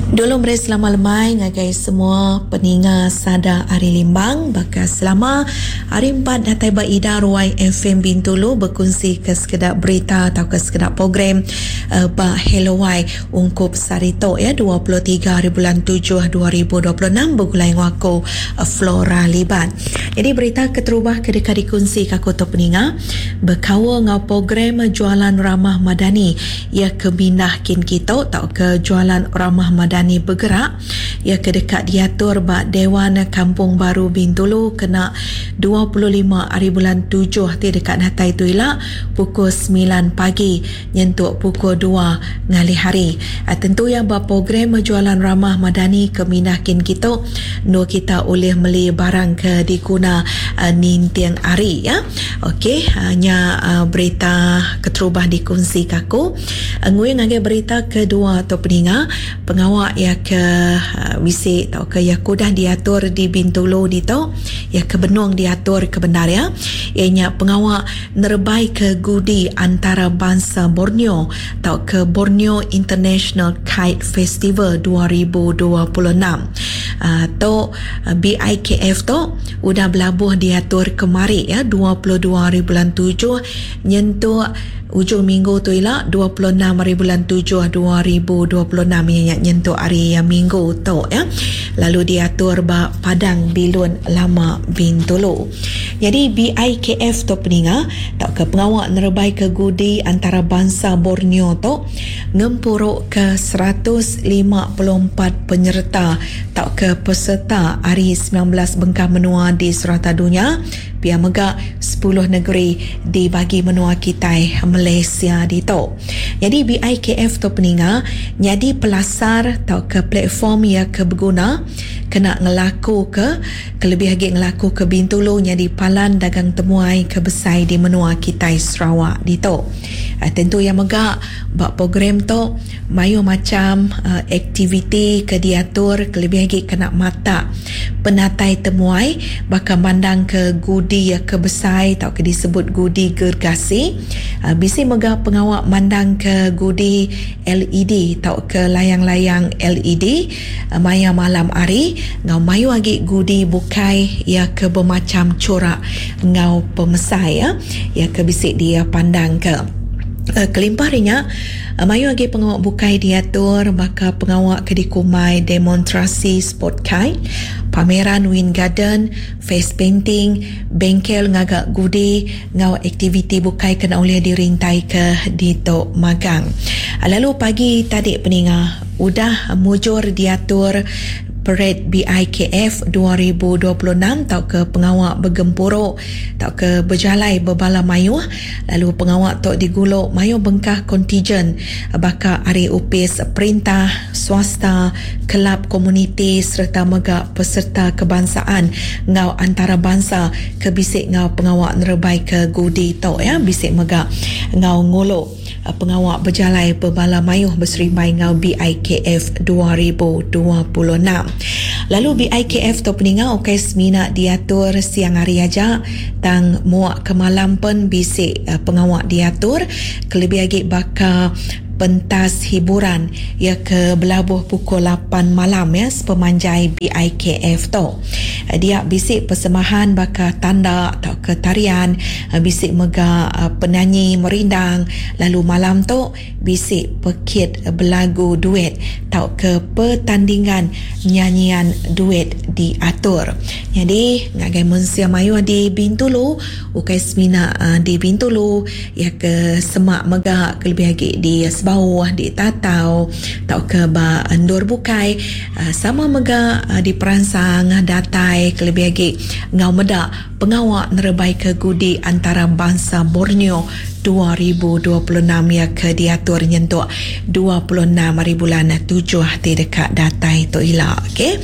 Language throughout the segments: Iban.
Dulu meri selama lemai ngagai semua peninga sada ari Limbang baka selama hari empat datai ba Ida Ruai FM Bintulu bekunsi ke sekeda berita tauka sekeda program ba Hello Wai ungkup sehari tu iya 23 hari bulan tujuh 2026 begulai enggau aku Flora Libat. Nyadi berita keterubah ke deka dikunsi ka aku tu peninga bekaul enggau program Jualan Ramah Madani Iya ke mindah kin kitu tauka Jualan Ramah Madani Bergerak iya ke deka diatur ba Dewan Kampung Baru Bintulu kena 25 ari bulan tujuh ti deka datai tu ila pukul semilan pagi nyentuk pukul dua ngalih hari. Tentu iya ba program Jualan Ramah Madani ke mindah kin kitu endur kita ulih meli barang ke diguna ninting hari. Ok nya berita keterubah dikunsi ka aku. Nguing ngagai berita kedua tu peninga pengawa iya ke bisi tauka iya ke udah diatur di Bintulu ditu iya ke benung diatur ke bendar iya iya nya pengawa nerebai ke gudi antara bansa Borneo tauka Borneo International Kite Festival 2026. Tu BIKF tu udah belabuh diatur kemari ya 22 hari bulan tujuh nyentuk ujung minggu tu ila 26 hari bulan tujuh 2026 iya nya nyentuk hari minggu tu ya lalu diatur ba Padang Bilun Lama Bintulu. Nyadi BIKF tu peninga tauka pengawa nerebaika gudi antara bansa Borneo tu ngempuruka 154 penyereta tauka peserta ari 19 bengkah menua di serata dunya, pia mega sepuluh negeri di bagi menua kitai Malaysia ditu. Nyadi BIKF tu peninga nyadi pelasar tauka platform iya ke beguna kena ngelakuka kelebih agi ngelakuka Bintulu nyadi palan dagang temuai ke besai di menua kitai Sarawak ditu. Tentu iya mega ba program tu mayuh macham aktiviti ke diatur kelebih agi kena matak penatai temuai baka mandangka gudi ke besai tauka disebut gudi gergasi. Bisi mega pengawa mandangka gudi LED tauka layang-layang LED. Maya malam hari enggau mayuh agi gudi bukai iya ke bemacham churak enggau pemesai iya ke bisi dipandangka. Kelimpah ari nya, mayuh agi pengawa bukai diatur baka pengawa ke dikumbai demonstrasi sport kite, pameran wind garden, face painting, bengkel ngaga gudi enggau aktiviti bukai ke enda ulih dirintaika ditu magang. Lalu pagi tadi peninga. Udah mujur diatur Parade BIKF 2026 tauka pengawa begempuru tauka bejalai bebala mayuh lalu pengawa tu digulu mayuh bengkah kontijen baka ari opis perintah, swasta, kelab komuniti sereta mega peserta kebangsaan enggau antarabansa ke bisi enggau pengawa nerebaika gudi tu iya bisi mega enggau ngulu. Pengawa bejalai bebala mayuh beserimbai enggau BIKF 2026. Lalu BIKF tu peninga ukai semina diatur siang hari aja tang muak ke malam pen bisi pengawa diatur kelebih agi baka pentas hiburan iya ke belabuh pukul lapan malam ya sepemanjai BIKF tu. Dia bisi persembahan baka tanda tauka tarian, bisi mega penanyi merindang lalu malam tu bisi pekit belagu duet tauka pertandingan nyanyian duet diatur. Nyadi ngagai mensia mayuh di Bintulu ukai semina di Bintulu iya ke semak mega kelebih agi di Sebauh, di Tatau tauka ba endur bukai. Sama mega diperansang datai kelebih agi enggau meda pengawa nerebaika gudi antara bansa Borneo 2026 iya ke diatur nyentuk 26 hari bulan tujuh ti deka datai tu ila. Okey.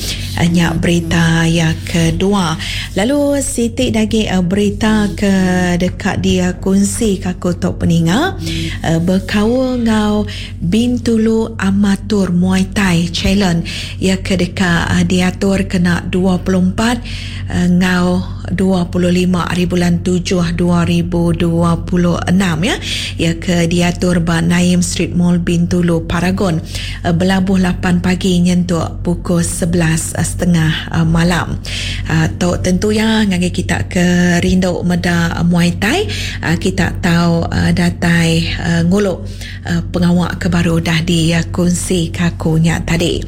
Nya berita iya kedua. Lalu siti da agi berita ke deka dikunsi ka aku tu peninga bekaul enggau Bintulu Amatur Muay Thai Challenge iya ke deka diatur kena 24 enggau. 25 ari bulan tujuh 2026 ya iya ke diatur ba Naim Street Mall Bintulu Paragon belabuh lapan pagi nyentuk pukul 11 setengah malam. Tu tentu iya ngagai kita ke rindu meda Muay Thai kita tau datai ngulu pengawa ke baru udah dikunsi ka aku nya tadi.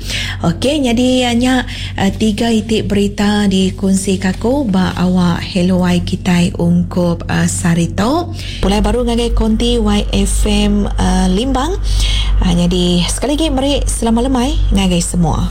Ok nyadi nya tiga iti berita dikunsi ka aku ba awak Hello Wai kitai ungkup sehari tu. Pulai baru ngagai konti YFM Limbang. Nyadi sekali agi meri selamat lemai ngagai semua.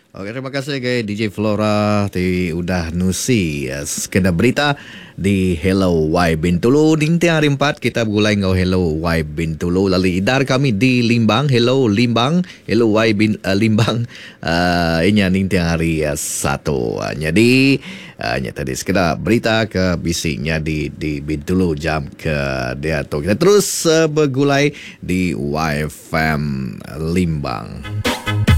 Ok terima kasih agai DJ Flora ti udah nusi sekeda berita di Hello Y Bintulu. Ninting hari empat kita begulai enggau Hello Y Bintulu lalu idar kami di Limbang Hello Limbang Hello Y Bin, uh, Limbang uh, inya ninting hari uh, satu. Uh, nyadi uh, nya tadi sekeda berita ke bisi nyadi di Bintulu jam ke diatu. Kita terus uh, begulai di YFM Limbang.